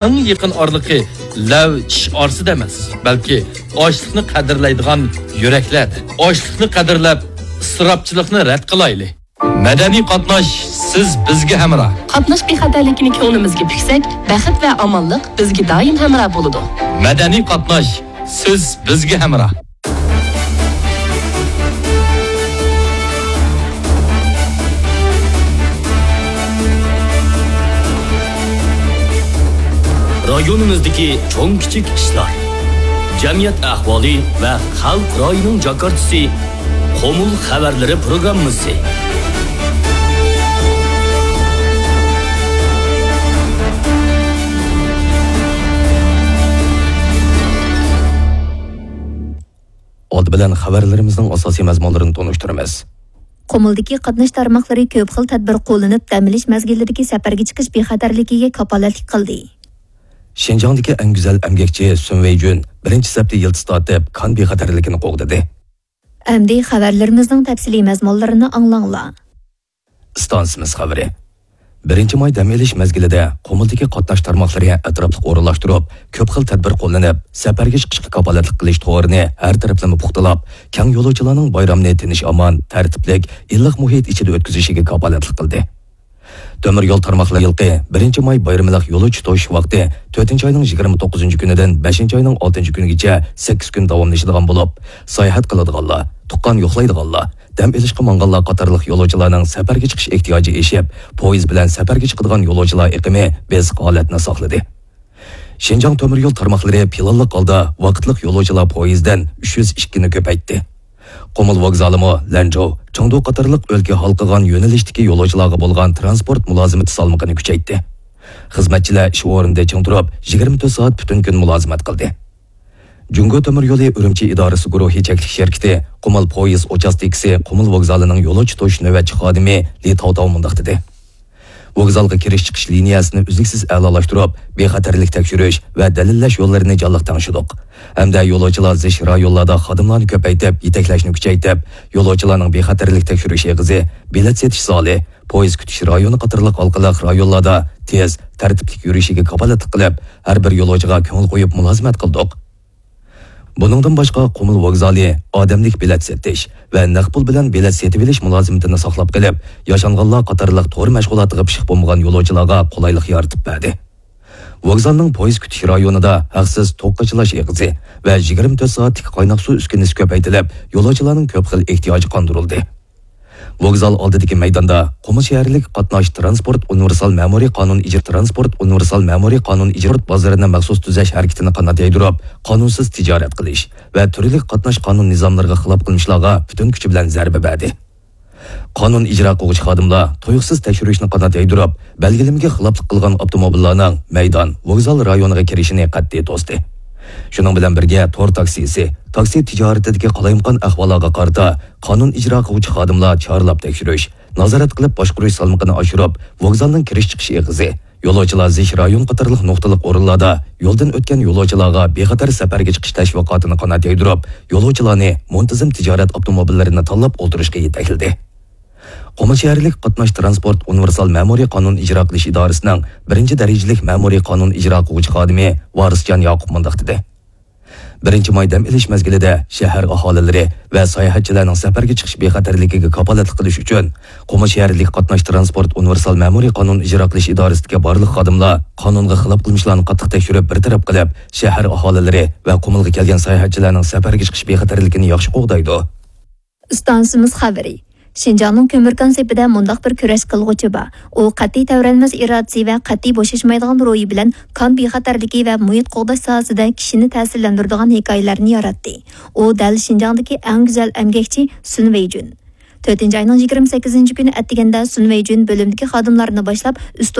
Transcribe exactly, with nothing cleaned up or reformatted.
ئەڭ يېقىن ئارىلىقى لەۋ چىش ئارىسىدا ئەمەس، بەلكى ئاشلىقنى قەدىرلەيدىغان يۈرەكلەردە. ئاشلىقنى قەدىرلەپ، ئىسراپچىلىقنى رەت قىلايلى. مەدەنىي قاتناش، سىز بىزگە ھەمراھ. قاتناش بىخەتەرلىكىنى كۆڭلىمىزگە پۈكسەك، بەخت ۋە ئامانلىق بىزگە دائىم ھەمراھ بولىدۇ. مەدەنىي قاتناش، سىز بىزگە ھەمراھ. رايونىمىزدىكى چوڭ-كىچىك ئىشلار، جەمئىيەت ئەھۋالى ۋە خەلق رايىنىڭ جاكارتىسى، قۇمۇل خەۋەرلىرى پروگراممىسى. ئالدى بىلەن خەۋەرلىرىمىزنىڭ ئاساسىي مەزمۇنلىرىنى تونۇشتۇرىمىز. قۇمۇلدىكى قاتناش تارماقلىرى كۆپ خىل تەدبىر قوللىنىپ، دەم ئېلىش مەزگىللىرىدىكى سەپەرگە چىقىش بىخەتەرلىكىگە كاپالەتلىك قىلدى. شىنجاڭدىكى ئەڭ گۈزەل ئەمگەكچى سۈن ۋېيجۈن بىرىنچى سەپتە يىلتىز تارتىپ، كان بىخەتەرلىكىنى قوغدىدى. ئەمدى خەۋەرلىرىمىزنىڭ تەپسىلىي مەزمۇنلىرىنى ئاڭلاڭلار. ئىستانسىمىز خەۋىرى. بىرىنچى ماي دەم ئېلىش مەزگىلىدە قۇمۇلدىكى قاتناش تارماقلىرى ئەتراپلىق ئورۇنلاشتۇرۇپ، كۆپ خىل تەدبىر قوللىنىپ، سەپەرگە چىقىشقا كاپالەتلىك قىلىش تورىنى ھەر تەرەپلىمە پۇختىلاپ، كەڭ يولۇچىلارنىڭ بايرامنى تىنچ-ئامان، تەرتىپلىك، ئىللىق مۇھىت ئىچىدە ئۆتكۈزۈشىگە كاپالەتلىك قىلدى. تۆمۈر يول تارماقلىرى يىلقى بىرىنچى ماي بايرىملىق يولۇچى توشۇش ۋاقتى تۆتىنچى ئاينىڭ يىگىرمە توققۇزىنچى كۈنىدىن بەشىنچى ئاينىڭ ئالتىنچى كۈنىگىچە سەككىز كۈن داۋاملىشىدىغان بولۇپ، ساياھەت قىلىدىغانلار، تۇغقان يوقلايدىغانلار، دەم ئېلىشقا ماڭغانلار قاتارلىق يولۇچىلارنىڭ سەپەرگە چىقىش ئېھتىياجى ئېشىپ، پويىز بىلەن سەپەرگە چىقىدىغان يولۇچىلار ئېقىمى بېسىق ھالەتنى ساقلىدى. شىنجاڭ تۆمۈر يول تارماقلىرى پىلانلىق ھالدا ۋاقىتلىق يولۇچىلار پويىزىدىن ئۈچ يۈز ئىككىنى كۆپەيتتى. قۇمۇل ۋوگزالىمۇ لەنجۇ، چېڭدۇ قاتارلىق ئۆلكە ھالقىغان يۆنىلىشتىكى يولۇچىلارغا بولغان تىرانسپورت مۇلازىمىتى سالمىقىنى كۈچەيتتى. خىزمەتچىلەر ئىش ئورنىدا چىڭ تۇرۇپ، يىگىرمە تۆت سائەت پۈتۈن كۈن مۇلازىمەت قىلدى. جۇڭگو تۆمۈر يولى ئۈرۈمچى ئىدارىسى گۇرۇھى چەكلىك شىركىتى قۇمۇل پويىز ئوچاستكىسى قۇمۇل ۋوگزالىنىڭ يولۇچى توشۇش نۆۋەتچى خادىمى لى تاۋتاۋ مۇنداق دېدى: ۋوگزالغا كىرىش-چىقىش لىنىيەسىنى ئۈزلۈكسىز ئەلالاشتۇرۇپ، بىخەتەرلىك تەكشۈرۈش ۋە دەلىللەش يوللىرىنى جانلىق تەڭشىدۇق ھەمدە يولۇچىلار زىچ رايونلاردا خادىملارنى كۆپەيتىپ، يېتەكلەشنى كۈچەيتىپ، يولۇچىلارنىڭ بىخەتەرلىك تەكشۈرۈش ئېغىزى، بېلەت سېتىش زالى، پويىز كۈتۈش رايونى قاتارلىق ھالقىلىق رايونلاردا تېز، تەرتىپلىك يۈرۈشىگە كاپالەتلىك قىلىپ، ھەر بىر يولۇچىغا كۆڭۈل قويۇپ مۇلازىمەت قىلدۇق. بۇنىڭدىن باشقا، قۇمۇل ۋوگزالى ئادەملىك بېلەت سېتىش ۋە نەق پۇل بىلەن بېلەت سېتىۋېلىش مۇلازىمىتىنى ساقلاپ قېلىپ، ياشانغانلار قاتارلىق تور مەشغۇلاتىغا پىشىق بولمىغان يولۇچىلارغا قولايلىق يارىتىپ بەردى. ۋوگزالنىڭ پويىز كۈتۈش رايونىدا ھەقسىز توك قاچىلاش ئېغىزى ۋە يىگىرمە تۆت سائەتلىك قايناق سۇ ئۈسكۈنىسى كۆپەيتىلىپ، يولۇچىلارنىڭ كۆپ خىل ئېھتىياجى قاندۇرۇلدى. ۋوگزال ئالدىدىكى مەيداندا قۇمۇل شەھەرلىك قاتناش تىرانسپورت ئۇنىۋېرسال مەمۇرىي قانۇن ئىجرا، تىرانسپورت ئۇنىۋېرسال مەمۇرىي قانۇن ئىجرا بازىرىنى مەخسۇس تۈزەش ھەرىكىتىنى قانات يايدۇرۇپ، قانۇنسىز تىجارەت قىلىش ۋە تۈرلۈك قاتناش قانۇن نىزاملىرىغا خىلاپ قىلمىشلارغا پۈتۈن كۈچى بىلەن زەربە بەردى. قانۇن ئىجرا قىلغۇچى خادىملار تۇيۇقسىز تەكشۈرۈشنى قانات يايدۇرۇپ، بەلگىلىمىگە خىلاپلىق قىلغان ئاپتوموبىللارنىڭ مەيدان، ۋوگزال رايونىغا كىرىشىنى قەتئىي توستى. شۇنىڭ بىلەن بىرگە، تور تاكسىسى، تاكسى تىجارىتىدىكى قالايمىقان ئەھۋاللارغا قارىتا قانۇن ئىجرا قىلغۇچى خادىملار چارلاپ تەكشۈرۈش، نازارەت قىلىپ باشقۇرۇش سالمىقىنى ئاشۇرۇپ، ۋوگزالنىڭ كىرىش-چىقىش ئېغىزى، يولۇچىلار زىچ رايون قاتارلىق نۇقتىلىق ئورۇنلاردا يولدىن ئۆتكەن يولۇچىلارغا بىخەتەر سەپەرگە چىقىش تەشۋىقاتىنى قانات يايدۇرۇپ، يولۇچىلارنى مۇنتىزىم تىجارەت ئاپتوموبىللىرىنى تاللاپ ئولتۇرۇشقا يېتەكلىدى. قۇمۇل شەھەرلىك قاتناش تىرانسپورت ئۇنىۋېرسال مەمۇرىي قانۇن ئىجرا قىلىش ئىدارىسىنىڭ بىرىنچى دەرىجىلىك مەمۇرىي قانۇن ئىجرا قىلغۇچى خادىمى ۋارىسجان ياقۇپ مۇنداق دېدى: بىرىنچى ماي دەم ئېلىش مەزگىلىدە شەھەر ئاھالىلىرى ۋە ساياھەتچىلەرنىڭ سەپەرگە چىقىش بىخەتەرلىكىگە كاپالەتلىك قىلىش ئۈچۈن، قۇمۇل شەھەرلىك قاتناش تىرانسپورت ئۇنىۋېرسال مەمۇرىي قانۇن ئىجرا قىلىش ئىدارىسىدىكى بارلىق خادىملار قانۇنغا خىلاپ قىلمىشلارنى قاتتىق تەكشۈرۈپ، بىر تەرەپ قىلىپ، شەھەر ئاھالىلىرى ۋە قۇمۇلغا كەلگەن ساياھەتچىلەرنىڭ سەپەرگە چىقىش بىخەتەرلىكىنى ياخشى قوغدايدۇ. ئىستانسىمىز خەۋىرى. شىنجاڭنىڭ كۆمۈر كان سېپىدە مۇنداق بىر كۈرەش قىلغۇچى بار. ئۇ قەتئىي تەۋرەنمەس ئىرادىسى ۋە قەتئىي بوشاشمايدىغان روھى بىلەن كان بىخەتەرلىكى ۋە مۇھىت قوغداش ساھەسىدە كىشىنى تەسىرلەندۈرىدىغان ھېكايىلەرنى ياراتتى. ئۇ دەل شىنجاڭدىكى ئەڭ گۈزەل ئەمگەكچى سۈن ۋېيجۈن. تۆتىنچى ئاينىڭ يىگىرمە سەككىزىنچى كۈنى ئەتىگەندە سۈن ۋېيجۈن بۆلۈمدىكى خادىملارنى باشلاپ، ئۈستى